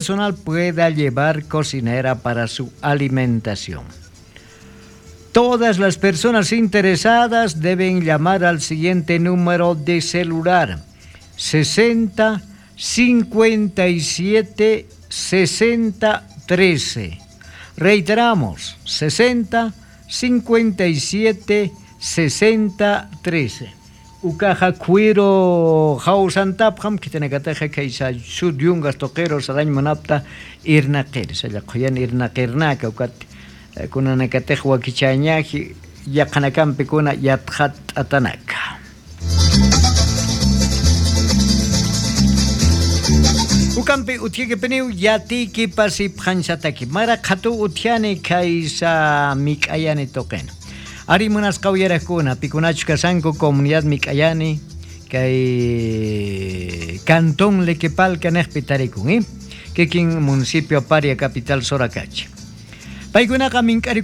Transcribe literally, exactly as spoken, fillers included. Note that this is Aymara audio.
personal pueda llevar cocinera para su alimentación. Todas las personas interesadas deben llamar al siguiente número de celular: sesenta, cincuenta y siete, sesenta, trece. Reiteramos: sesenta, cincuenta y siete, sesenta, trece. Ukaxa khuyru jawsantapxam khitinakataxa khaysa sud yungas tuqiru sarañ munapta irnaqir salla qhuyan irnaqirnaka ukat, kunanakatix wakichañaji yaqhanakampi kuna yatxat'atanaka. Ukampi utjikipiniw yatiyki pasipxañsataki mara qhatuw utjani khaysa mik'ayani tuqina. Ari munasqa uyarakuna pikunachus kasanku comunidad mik'ayani kay cantón lequepalca niqpi tarikun, kikin municipio paria capital sorakachi. Paykunaqa mink'ariku